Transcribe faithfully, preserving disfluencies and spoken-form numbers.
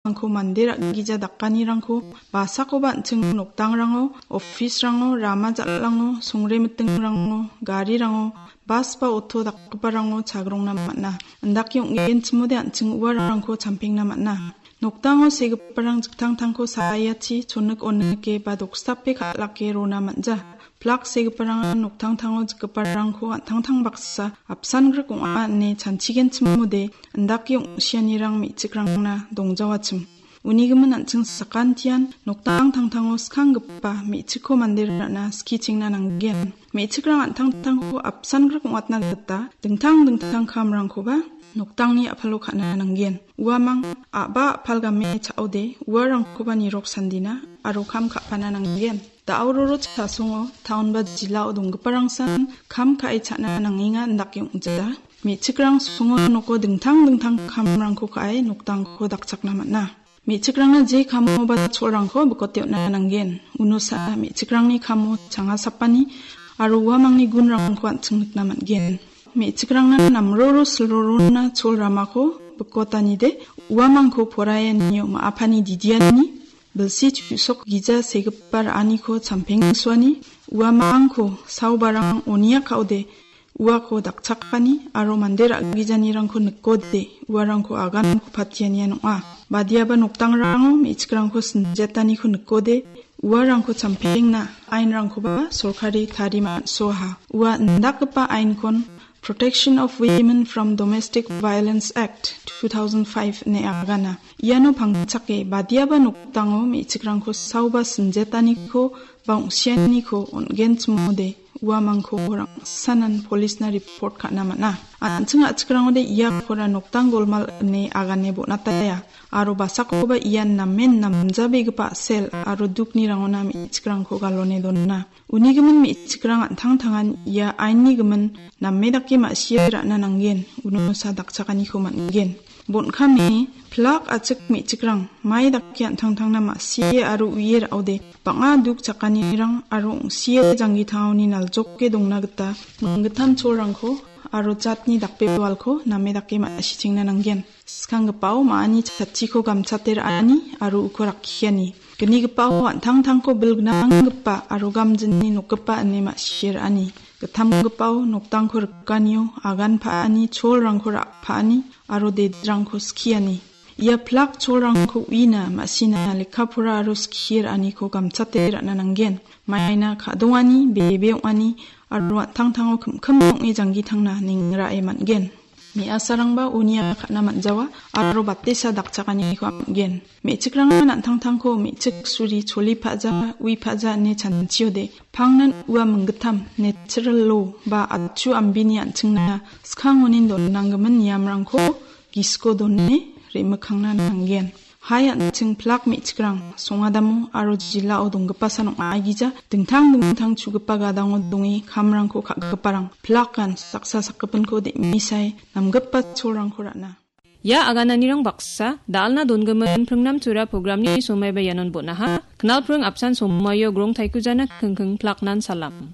uamangko mande ra·gija dakanirangko basakoba an·ching nokdangrango, office-rango, rama jal·ango, songremitingrango, garirango, bas ba oto dakgiparango chagrongna man·a. Indake ong·genchimode an·ching uarangko champengna man·a. Nokdango segiparang jiktangtangko saiachi chonik onike ba dokstape kal·ake rona man·ja. Plak segiparangan noktangtango jikgiparangko an·tangtang baksa apsan grik ong·a ine chanchigenchimode indake ong·sianirang me·chikrangna dongjawachim. Unigimin an·ching sakantian noktang tangtango skanggipa me·chikko mande ra·na skichengna nanggen. Me·chikrang an·tangtangko apsan grik ong·atna gita dingtang dingtang kamrangkoba noktangni a·palo ka·na nanggen. Uamang a·ba a·pal game cha·ode uarangkoba nirok sandina aro kam ka·pana nanggen. Da·o roro chasongo taon ba jilao donggiparangsan kam ka·e cha·na nangenga indake ong·ja. Me·chikrang songo noko dingtang dingtang kamrangko ka·e noktangko dakchakna man·a. Me·chikrangna je kamoba cholrangko bikote on·na nanggen. Unosa me·chikrangni kamo changa sapani aro uamangni gunrangko an·ching nikna man·gen. Me·chikrangna namroro silrorona chol ramako bikotanide uamangko poraianio ma·apani didiani bilsi chu·sok gija segipa ra·aniko champengsoani uamangko saobarang onia ka·ode uako dakchakani aro mande ra·gijanirangko nikode uarangko aganko patianian ong·a. Badiaba noktangrango me·chikrangko sinjetaniko nikode uarangko champengna ainrangkoba sorkari tari man·soaha. Ua indakgipa ainkon Protection of Women from Domestic Violence Act two thousand five ine agana. Iano pangchake badiaba nokdango me·chikrangko saoba sinjetaniko ba ong·sianiko on·genchimode uamangko rangsanan polisna report ka·na man·a. An·ching a·chikrangode iakora noktang golmal ine agane bon·ataia. Aro basakoba ian namen namjabegipa a·sel aro dukni rangona me·chikrangko galone dona. Unigimin me·chikrang an·tangtangan ia ainni gimin name dake ma·sie ra·na nanggen, unosa dakchakaniko man·gen. Bon·kame plak a·chik me·chikrang mai dake an·tangtangna ma·sie aro uie ra·ode bang·a duk chakanirang aro ong·sie janggi tangoni naljoke dongna gita minggittam cholrangko aro jatni dakbewalko name dake ma·sichengna nanggen. Skanggipao ma·ani chatchiko gamchate ra·ani aro uko rakkiani. Gnigipao an·tangtangko bilgnanggipa aro gamjinni nokgipa ine ma·sie ra·ani. Gittamgipao noktangko rikanio agan pa·ani, cholrangko ra·paani aro dedrangko skiani. Ia plak cholrangko uina ma·sina lekka pora aro skie ra·aniko gamchate ra·na nanggen. Maina ka·dongani, bebe ong·ani aro an·tangtango kimkim ong·e janggi tangna ningrae man·gen. Me·asarangba unia ka·na man·jawa aro batesa dakchakaniko am·gen. Me·chikrangan an·tangtangko me·chik suri choli pa·ja, ui pa·ja ine chanchiode, pangnan ua minggittam natural law ba atchu ambini an·chingna skangonin donanggimin niamrangko gisiko done re·mikkangna nanggen. Hai an·ching plak me·chikrang songadamo aro jilao donggipasan ong·aigija dingtang dingtang chugipa gadango donge kamrangko ka·giparang plakan saksa sakgipinko de·misai namgipa cholrangko ra·na. Ia agananirang baksa, da·alna dongimin Pringnam Tura programni somaiba ianon bon·aha. Knalpring apsan somaio grong taikujana kingking plaknan salam.